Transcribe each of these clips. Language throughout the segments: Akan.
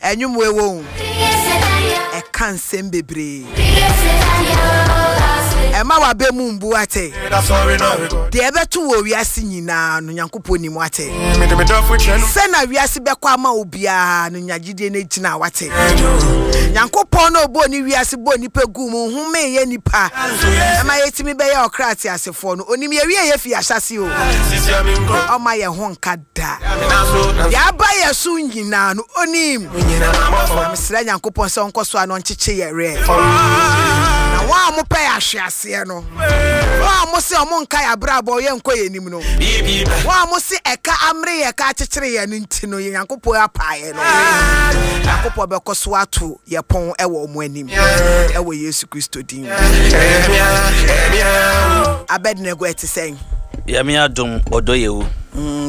Ɛnwom wei wɔ o, ɛka nsɛm bebree. Ɛma w'abɛ mu mbu ate. Deɛ ɛbɛto wɔ wiase nyinaa no, Nyankopɔn nim wate. Sɛ na wiase bɛkɔ ama wo biara no, nya gyidie no gyina wate. Nyankopɔn na ɔbɔɔ ne wiase bɔɔ nipa guu mu, homee yɛ nipa ɛma yɛtumi bɛyɛ ɔkra ateasefoɔ no. Onim yɛwie yɛ fi ahyɛse o. Ɔma yɛ ho nka da. Deɛ aba yɛ so nyinaa no, onim. Na mesrɛ Nyankopɔn sɛ ɔnkɔ so a na ɔnkyekye yɛ werɛ. Na wɔn a wɔpɛ yɛ ahweaseɛ no, wɔn a wɔse wɔn nka yɛ abrabɔ yɛ nkɔ yɛ anim no, wɔn a wɔse ɛka amere yɛ ka akyekyere yɛ no nti no, yɛ Nyankopɔn apaa yɛ no. Nyankopɔn bɛkɔ so ato yɛ pɔn wɔ wɔn anim ɛwɔ Yesu Kristo din mu. Abednego ɛte sɛn? Yɛme adom ɔdɔ yɛ wu.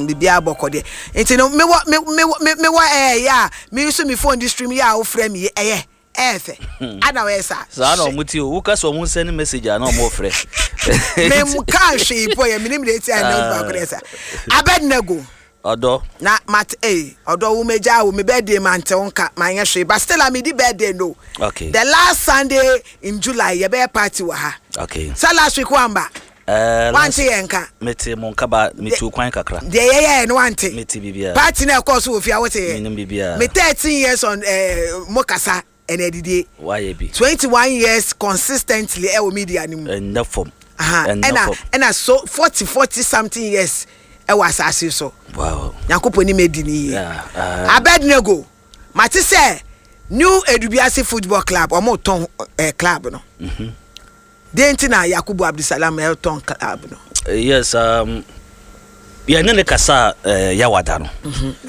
Biribiara bɔkɔ deɛ. Nti no mewɔ me me me mewɔ ɛɛ yɛ a me use me phone de stream yɛ a wofrɛ me yi ɛyɛ ɛyɛ fɛ. Ana ɔyɛ saa? Saa na ɔmo te o. Woka sɛ ɔmo nsɛne message a na ɔmo frɛ. Me nkaa hwee po yɛ menim deɛ eti a ɛnɛ onipa ko deɛ saa. Abednego. Ɔdɔ. Na mat ei ɔdɔ wo megyaa wo me birthday mante wo nka manyɛ hwee but still a medi birthday no. Okay. The last Sunday in July yɛbɛyɛ party wɔ ha. Okay. Sɛ last week woamba. Eh, Wante yɛn nka. Mete mo nka ba metu kwan kakra. Deɛ yɛyɛɛ no wante. Mete biribiara. Party na ɛkɔɔ so wɔ fie a wote yɛ. Menim biribiara. Me 13 years on eh, mo kasa ɛna adidie. Wayɛ bi. 21 years consistently ɛwɔ media no mu. Ɛnnɛ fam. Aha, Ɛnnɛ ɛna fam. ɛna so 40 40 something years ɛwɔ asase so. Wow. Nyankopɔn ni medi ne yie. Yeah, Abednego, mate sɛ New Edubiase Football Club ɔmo tɔn eh, club no. Deɛ nti na Yakubu Abdulsalam retɔn club no. Yes, yɛne ne kasa uh, yawada no.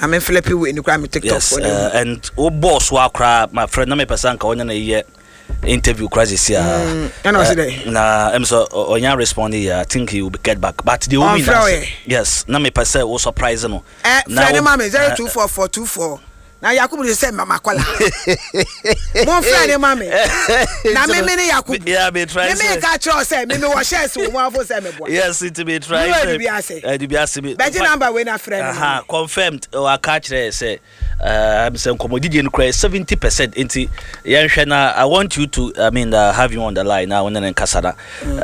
Na me flip wei no koraa me TikTok Yes, and wo bɔɔ so a koraa my friend na mepɛ sɛ anka ɔnyɛ na yɛ interview koraa sisi a. Ɛna ɔsi dɛ. Na ɛm sɛ ɔnya respond yɛ I think he will get back but the only Ɔnfrɛ ɔyɛ. Yes, na mepɛ sɛ wo surprise no. Ɛ frɛ ne ma me 024424 na Yakubu de sɛ mama kɔla. Mo frɛ ne ma me. Na me me ne Yakubu. Yeah, me try. Me me ka kyerɛ sɛ me me wɔ shares wɔ mu afo sɛ me boa. Yes, it me try. Me wɔ bi ase. Ɛdi bi ase bi. Bɛgye number wei na frɛ no. Aha, confirmed. Aka kyerɛ sɛ sɛ nkɔmmɔdidie no koraa 70% nti yɛnhwɛ na I want you to I mean have you on the line na wo ne ne nkasa na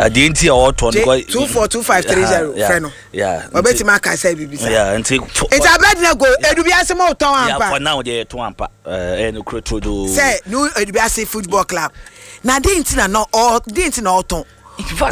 deɛ nti a ɔtɔ no 242530 frɛ no. Yeah, ɔbɛtumi aka sɛ biribi saa. Yeah, nti nti Abednego Edubiase mo tɔn ampa. Yeah, for now deɛ yɛtɔn ampa. Ɛyɛ no kuro turodoo. Sɛ New Edubiase Football Club na den nti na na ɔ den nti na ɔtɔn.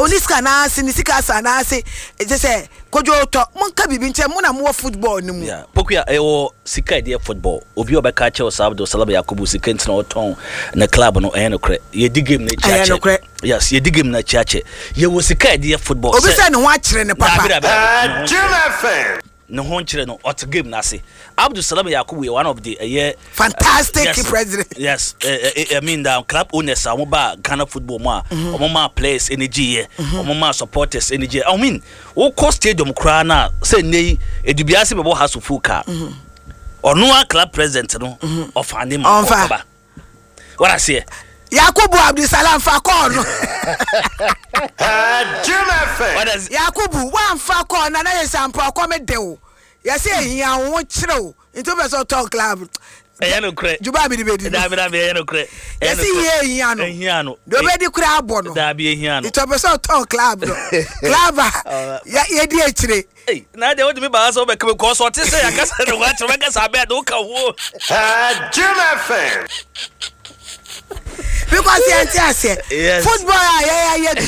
Oni sika anaase ne sika asa anaase ɛkyɛ sɛ kodwo tɔ mo nka biribi nkyɛn mo na mo wɔ football no mu. Yeah, Pokuya ɛwɔ sika ɛdeɛ football obi a ɔbɛka akyɛw saa Abdul Salam Yakubu sika nti na ɔtɔn ne club no ɛyɛ nokorɛ yɛdi game no akyi akyɛ. Ɛyɛ nokorɛ. Yes, yɛdi game no akyi akyɛ. Yɛwɔ sika a yɛde yɛ football. Obi sɛ ne ho akyere no papa. Daabi, daabi, daabi. Jim FM. Ne ho nkyere no, ɔte game no ase. Abdul Salam Yakubu yɛ one of the ɛyɛ. Fantastic yes, president. Yes, I mean the club owners a wɔn ba Ghana football mu a wɔn maa players energy yɛ, wɔn maa supporters energy yɛ. I mean, wokɔ stadium koraa na sɛ nne yi Edubiase bɛbɔ Hearts of Oak a, ɔno a club president no ɔfa ne ma ɔkɔba. What I say? Yakubu Abdulsalam fa kɔɔ no. Jim FM. Yakubu wamfa kɔɔ na na yɛ sɛ ampa ɔkɔm de wo. Yɛsɛ ehia wo ho kyerɛ wo. Nti wopɛ sɛ ɔtɔn club. Ɛyɛ nokorɛ. Dwuma a mede bɛdi no. Daabi daabi ɛyɛ nokorɛ. Yɛsɛ hia ehia no. Ehia no. Deɛ ɔbɛdi koraa abɔ no. Daabi ehia no. Nti ɔpɛ sɛ ɔtɔn club no. Club a yɛdi akyire. Ei, na deɛ wode me baa sɛ wobɛka me kɔɔ so ɔte sɛ yɛakasa ne ho akyerɛ wobɛka sɛ abɛɛ de woka ho. Jim FM. Because yɛn ti aseɛ. Yes. Football a yɛyɛ yɛ bi.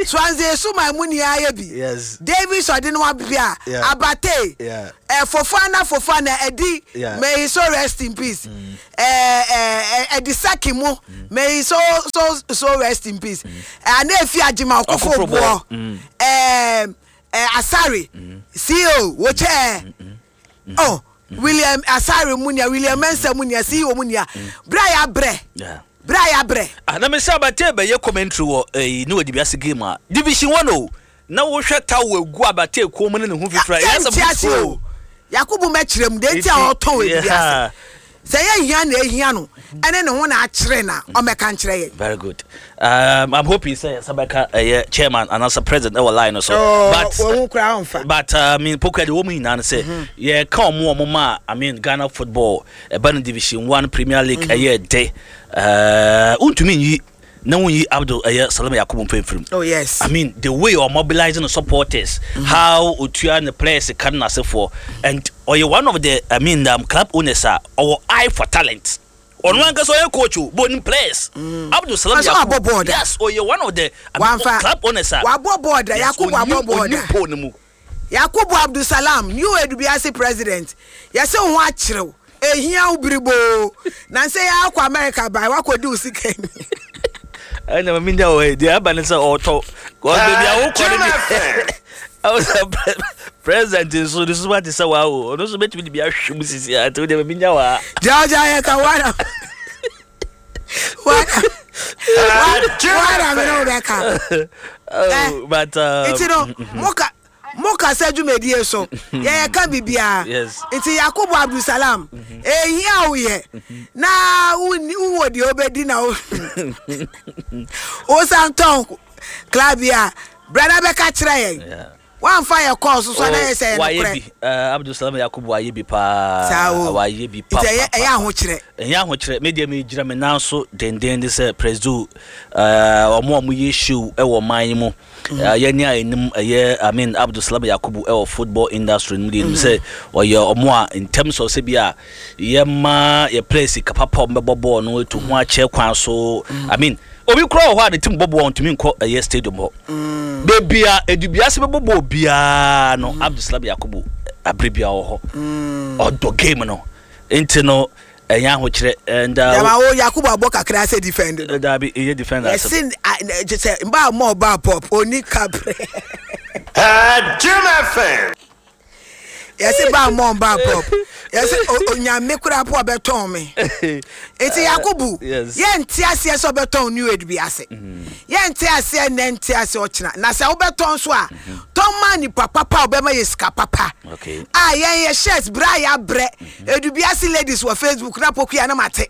Swansea Suma mu ni ayɛ bi. Yes. Davis ɔde no abia. Yeah. Abate. Yeah. Fofana Fofana ɛdi. Yeah. May he so rest in peace. Ɛdi Saki mu. May he so so so rest in peace. Ana efi Ajima Okofo Okofo boɔ. Boɔ. Asare. CEO wokyɛ. Oh. William Asare mu nia, William Mensah mu nia, CEO mu nia. Bra ya brɛ. Yeah. Bra ya brɛ. Ah, na mesɛ Abatey bɛyɛ commentary wɔ eh, ne wɔde biase game a division 1 o na wohwɛ towel gu Abatey kɔn mu ne ne ho fifira Yɛnte ase o. Yakubu mɛkyerɛ mu deɛ nti a ɔtɔn ebi ase. Sɛ ɛyɛ hia na ehia no ɛne ne ho na akyere na ɔmmɛka nkyerɛ yɛn. Very good. I'm hoping sɛ yɛsa bɛka ɛyɛ chairman anaasɛ president ɛwɔ line no so. Oh, but wɔn koraa ɔnfa. But I mean pokua de wɔn nyinaa no sɛ yɛka wɔn wɔn ma I mean Ghana football ɛba no division one Premier League ɛyɛ de wontumi nyi na wonyi Abdul ɛyɛ Salama Yakubu mfimfini. Oh yes. I mean the way or mobilizing the supporters, how otua the players kan n'asefoɔ and ɔyɛ one of the I mean club owners a ɔwɔ eye for talent. Ɔno ankasa ɔyɛ coach o, but onim players. Abdul Salam Ɔsɛ Yakubu. wabɔ board a. Yes, ɔyɛ one of the I mean, Wamfa. club owners a. Wabɔ board a, Yes, Yakubu abɔ onim board a. onim pole no mu. Yakubu Abdulsalam, new Edubiase president, yɛse wo ho akyere wo, ehia wo biriboo, nansɛ yi ara wokɔ America bae, woakɔdi wo sika ni. Ɛna mami nya wɔ deɛ aba ne sɛ ɔtɔ kɔs baabi a wokɔ no deɛ ɛwɔ sɛ president nso ne suma te sɛ waa o ɔno nso bɛtumi de bi ahwɛ mu sisi a nti wodeɛ mami nya wɔ ha. Deɛ ɔgya yɛ ka wana wana wana me ne wo bɛka. Oh, but Nti no moka mo kasa dwumadie so yɛyɛ ka biribiara Yes. nti Yakubu Abdulsalam ehia wo yɛ na wonni wowɔ deɛ wobɛdi na wo wosan tɔn club yi a bra na bɛka kyerɛ yɛn Yeah. woamfa yɛ kɔɔ so so a na yɛ sɛ yɛ wayɛ nokorɛ bi Abdulsalam Yakubu wayɛ bi paa saa o wayɛ bi pa nti ɛyɛ pa ɛyɛ pa ahokyerɛ ɛnyɛ ahokyerɛ me deɛ megyina me nan so denden de sɛ presido ɔmo a ɔmo yɛ show ɛwɔ ɔman yi mu yɛne a ɛnim ɛyɛ I mean Abdulsalam Yakubu ɛwɔ football industry no mu deɛ ɛnim sɛ ɔyɛ ɔmo a in terms of sɛ bi a yɛma yɛ players sika papa ɔmo bɛbɔ bɔɔl no etu ho akyɛ kwan so I mean obi koraa wɔ hɔ a ne team bɔ bɔɔl ntumi nkɔ ɛyɛ stadium hɔ beebi a Edubiase bɛbɔ bɔɔl biara no Abdulsalam Yakubu abere biara wɔ hɔ ɔdɔ game no nti no ɛnyɛ ahokyerɛ and Dama wo Yakubu abɔ kakra sɛ defend no dabi ɛyɛ defender asɛm yɛse kyɛ sɛ mba a mɔ ɔba pop oni kaprɛ Jim FM. yɛse ba mɔ ɔba pop yɛse onyame koraa po ɔbɛtɔn me nti Yakubu yes. yɛnte aseɛ sɛ ɔbɛtɔn new age bi ase yɛnte aseɛ nnɛ nte aseɛ ɔkyena na sɛ wobɛtɔn so a tɔn ma nipa papa a ɔbɛma yɛ sika papa Okay. a yɛn yɛ shirt berɛ a yɛabrɛ Edubiase ladies wɔ Facebook na pokuya na mate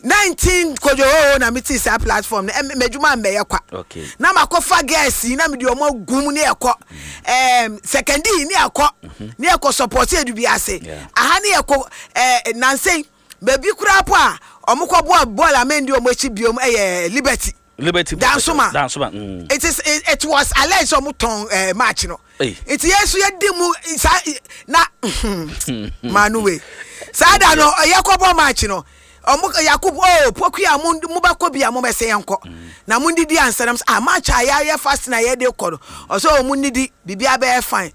19 kodwo na mete saa platform no m'adwuma mmɛyɛ kwa Okay. na makɔfa girls yi na mede ɔmo agu mu ne ɛkɔ sekandi ne ɛkɔ ne ɛkɔ support Edubiase Yeah. aha ne ɛkɔ nansɛn baabi koraa po a ɔmo kɔ bɔɔl bɔɔl amendi ɔmo akyi biom ɛyɛ Liberty Liberty Dansoma. Dansoma it was alleged sɛ ɔmo tɔn match no Hey. nti yɛn nso yɛdi mu saa na maanu wei saa da no yɛkɔbɔ match no ɔmo Yakubu oh pokuya mo mo bɛkɔ bi a mo bɛsɛ yɛn kɔ na mo ndidi ansa na mo sɛ ah match a yɛayɛ fast na yɛde kɔ no ɔsɛ ɔmo ndidi biribi abɛyɛ fine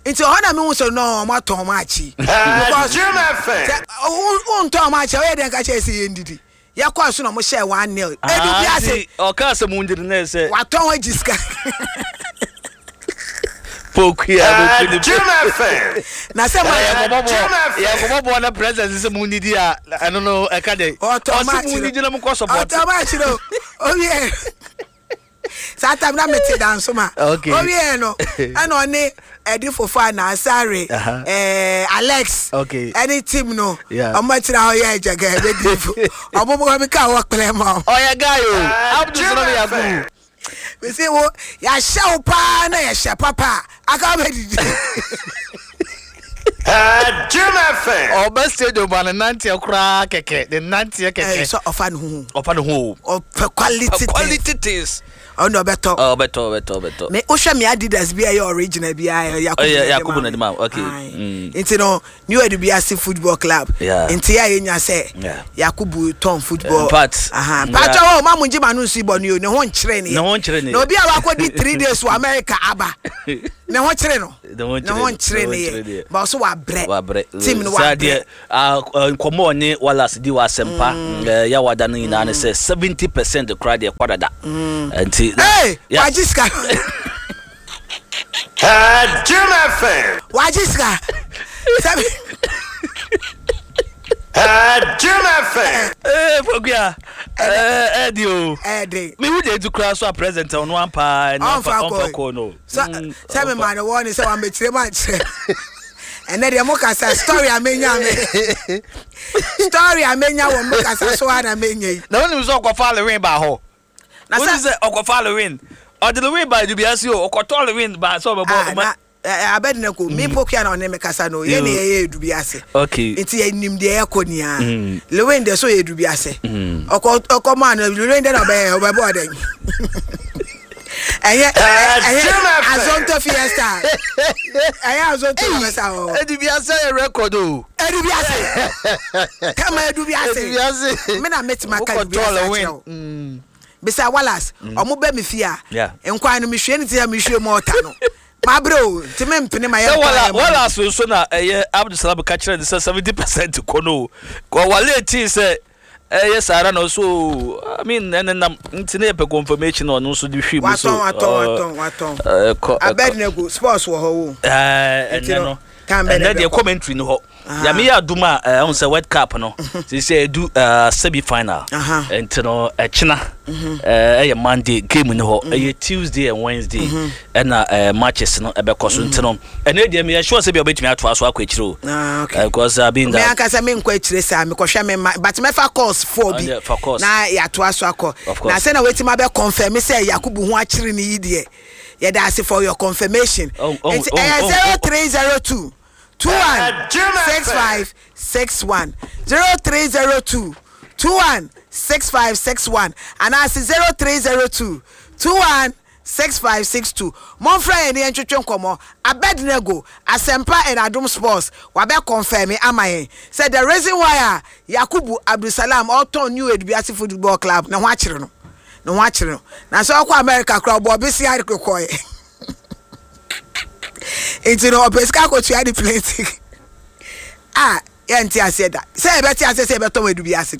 nti ɔhɔ na mi hu sɛ no ɔmo atɔn match yi because Jim FM. sɛ o ntɔn match a ɔyɛ dɛn ka kyerɛ sɛ yɛn didi yɛkɔ so na ɔmo hyɛ 1-0 Edubiase ɔka asɛm wo ndidi na ɛsɛ watɔn agyi sika. pokuya Jim FM. na sɛ ma yɛkɔbɔ bɔɔl na president sɛ mu ndidi a ɛno no ɛka dɛ ɔtɔ ɔsɛ match mu ndidi na mokɔ support ɔtɔ match no owie saa time na mete Dansoma Okay. owie no ɛna ɔne ɛdi fofo a na asare Uh-huh. Alex Okay. ɛne team no Yeah. ɔmo akyerɛ hɔ yɛ ɛgyɛgɛ ɛbɛdi fo ɔmo mo mi ka wɔ kplɛ ma o ɔyɛ guy o Abdul Jim Salam Yakubu FM. bisi wo yɛahyɛ wo paa na yɛhyɛ papa a aka bɛdidi Jim FM. ɔbɛ stadium a ne nanteɛ koraa kɛkɛ ne nanteɛ ɛɛ kɛkɛ sɛ ɔfa ne ho ɔfa ne ho o ɔpɛ quality quality things ɔno ɔbɛtɔ ɔbɛtɔ ɔbɛtɔ ɔbɛtɔ me wohwɛ me Adidas bi a ɛyɛ original bi a ɛyɛ Yakubu Ɛyɛ na ɛde Yakubu ma na ɛde ma wo, okay. Aye. Mm. nti no New Edubiase football club Yeah. nti yɛ a yɛnya sɛ Yeah. Yakubu tɔn football In fact, aha yeah. patro hɔ ɔma mo ngye ma no nsu bɔ no o ne ho nkyerɛ ne Ne ho nkyerɛ ne na yɛ. obi a wakɔdi 3 days wɔ America aba ne ho kyerɛ no Ne ho nkyerɛ ne ho ne nkyerɛ ne ne ho nkyerɛ ne yɛ yɛ. ba ɔso wabrɛ wabrɛ team no saa wabrɛ deɛ nkɔmmɔ ɔne Wallace di wɔ asɛmpa yɛwada no nyinaa ne sɛ 70% koraa deɛ kɔ dada nti ee Yeah. wagye sika Jim FM. wagye sika sɛbi Jim FM. Pokuya ɛdi o ɛɛden mehu deɛ ɛtu koraa so a president ɔno ampa ɔnfa ɔmfa kɔ kɔ no sɛ sɛ me maa ne wɔ ne sɛ wamɛkyerɛ mu ankyerɛ Ɛnɛ deɛ mo kasa story a menya me story a menya wɔ mo kasa so a na menya yi. Na wonim sɛ ɔkɔfa Lewin baa hɔ. Na Wonim sɛ sɛ ɔkɔfa Lewin. Ɔde Lewin baa Edubiase o, ɔkɔtɔɔ Lewin baa sɛ ɔbɛbɔ ah, ɔma. na eh, Abednego me pokua na ɔne me kasa no yɛ ne yɛyɛ Edubiase. Okay. Nti yɛnim deɛ yɛkɔ nia. Lewin deɛ so yɛ Edubiase. Ɔkɔ ɔkɔ maa no Lewin deɛ na ɔbɛyɛ ɔbɛbɔ ɔdɛn. Ɛyɛ ɛyɛ Jim FM. Azonto Fiesta. Ɛyɛ Azonto na bɛsa wɔ. Edubiase yɛ record o. Edubiase. Kama Edubiase. Edubiase. Me na mɛtumi aka Wokɔtɔɔ Edubiase Lewin. akyerɛ wo. Bisa Wallace, ɔmo bɛ me fie a, Yeah. nkwan no mehwie ne ti a mehwie mɔɔta no. Mabrɛ o, nti mempene ma Sɛ yɛnkwan wala yɛ ma no. wala so nso na ɛyɛ Abdulsalam ka kyerɛ ne sɛ 70% kɔ no o. Kɔ wale tii sɛ ɛyɛ saa ara na ɔso o. I mean ɛne nam nti ne yɛpɛ confirmation na ɔno nso de hwi mu so. Watɔn, watɔn, watɔn, watɔn. Ɛkɔ ɛkɔ. Abednego, sports wɔ hɔ o. Ɛɛ Nti ɛnɛ no, no time bɛn na ɛnɛ deɛ ɛbɛkɔ? commentary no hɔ. Nyame yɛ adom a ɛho sɛ World Cup no sɛ ɛdu semi final. Nti no ɛkyena ɛyɛ Monday game no hɔ ɛyɛ Tuesday and Wednesday ɛna matches no ɛbɛkɔ so nti no ɛnɛ deɛ meyɛ sure sɛ bia wobɛtumi atoa so akɔ akyire o. Ah, okay. Because I mean Me that ankasa me nkɔ akyire saa mekɔhwɛ me ma but mɛfa course four bi yeah, fa course. na yɛatoa so akɔ Of course. na sɛ na wɔatumi abɛ confirm sɛ Yakubu ho akyere no yi deɛ yɛda ase for your confirmation Oh, oh, nti oh, ɛyɛ oh, 0302 21 Jim FM. 65 61 0302 21 65 61 anaasɛ 0302 21 6562 momfrɛ yɛn ne yɛntwetwe nkɔmmɔ. Abednego Asɛmpa and Adom Sports wabɛ confirm ama yɛn sɛ the reason why a Yakubu Abdulsalam ɔtɔn New Edubiase Football Club ne ho akyere no ne ho akyere no na sɛ ɔkɔ America koraa ɔbɔ ɔbesia kɔɛ nti no ɔpɛ sika akɔtua ne plane ticket a yɛnte aseɛ da sɛ yɛbɛte aseɛ sɛ yɛbɛtɔn Edubiase.